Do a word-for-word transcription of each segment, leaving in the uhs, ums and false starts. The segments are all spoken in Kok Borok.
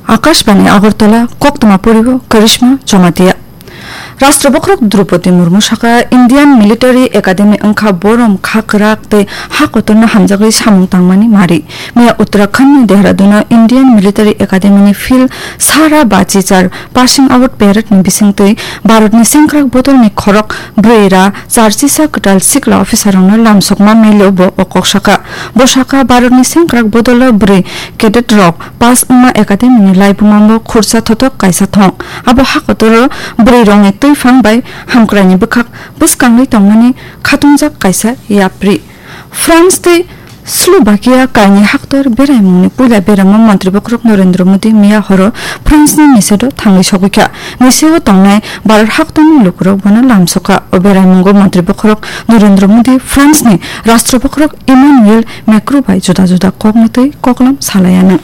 Akashbani Agartala, koktwma poribo Karishma Jamatia. Rashtra Bokhorok Droupadi Murmu saka Indian Military Academy wngkha borom kha kwrak tei ha kotorno hamjagwi samung tangmani mari. Miya Uttarakhand ni Dehradun o Indian Military Academy ni field sara bachichar passing out parade ni bisingtwi Bharat ni sengkrak bodol ni khorok brwi ra charchisa kwtal sikla officer rokno lamsokma melo bo o kok saka. Bo saka Bharat ni sengkrak bodol o brwi cadet rok pass wngma academy ni laibuma bo khursa thothok kaisa thong. Abo ha kotor o brwi rok ni twiphang bai hamkrai ni bwkhak bwskangwi tongmani khatungjak kaisa yapri. France tei Slovakia kaini haktor beraimungni puila beramo Montri Bokhorok Narendra Modi miya horo France ni Nice o thangwi sogwi kha. Nice o tongnai Bharat haktorni lukurok bono lamsokha. O beraimungo Montri Bokhorok Narendra Modi France ni Rashtra Bokhorok Emmanuel Macron bai juda juda kokni twi koklam salaianw.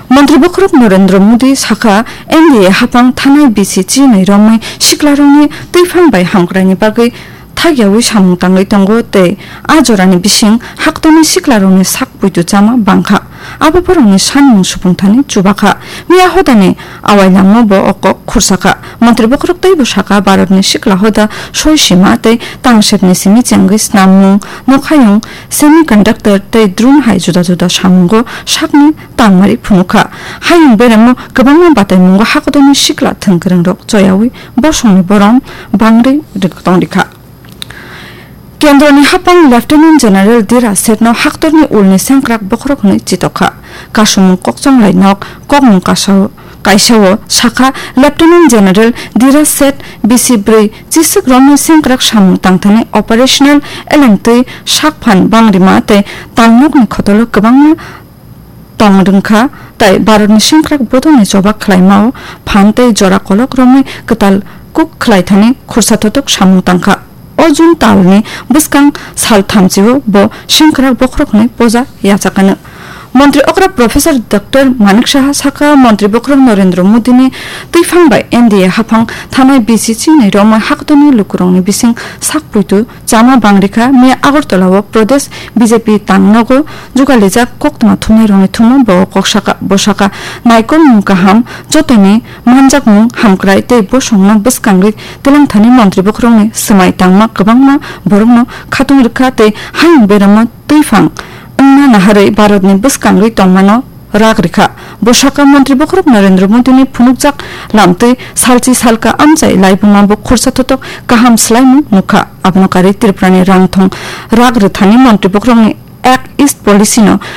Montri Bokhorok Narendra Modi sakha, N D A haphang thanai bisi chinwi romwi siklarokni twiphang bai hamkraini bagwi thakyawi samung tangwi tongo tei a jorani bising haktorni siklarokni sak puitu chama bangkha. Abo borokni sanmung supungthani chubakha. Miya hodani awai langma bo o kok khursakha. Montri Bokhorok teibo sakha, Bharatni sikla hoda soi sima tei tangsekni simi chengwi snammung, nokhayung, semiconductor tei drone hai juda juda samungo sakni tangmari phunukha. Hayung beremo kwbangma bataimungo hakotorni sikla thwngkwrwngrok choyawi bosongni borom bangri tongdikha. Kendroni haphang Lieutenant General Dira Sethno haktorni ulni sengkrak bokhorok hwnwi chitokha. Kasumung kokchonglai nok kokmung kasao kaisao sakha, Lieutenant General Dira Seth bisi brwi chiswk romwi sengkrak samung tangthani operational elengtwi sakphan bangrima tei tangnokni khotolo kwbangma tong rwngkha, tei Bharatni sengkrak bodolni choba khlaimao phan tei jora kolok romwi kwtal kuk khlaithani khursa thothok samung tangkha. O June talni bwskang sal thamchio bo sengkrak bokhorok hwnwi poja yachakano. Montri okra Professor Doctor Manik Saha sakha, Montri bokhorok Narendra Modini twiphang bai N D A haphang thanai B C C ni romwi haktorni lukurokni bising sak puitu chama bangrikha. Miya Agartala o Pradesh B J P tangnogo jugalijak koktwma thumnairokni thumno bo kok saka, bo saka, naikolmung kaham, jotoni manjakmung hamkrai tei bosongno bwskangwi twlangthani montri bokhorokni swmai tangma kwbangma borokno khatung rwkha tei hayung beramo twiphang wngna naharwi Bharatni bwskangwi tongmano rak rikha. Bo saka, montri bokhorok Narendra Modini phunukjak lamtwi salchi salka amchai laibuma bo khursa thothok kaham swlaimung nukha. Abono karwi Tripurani rangthong rak rwthani montri bokhorokni Act East Policy no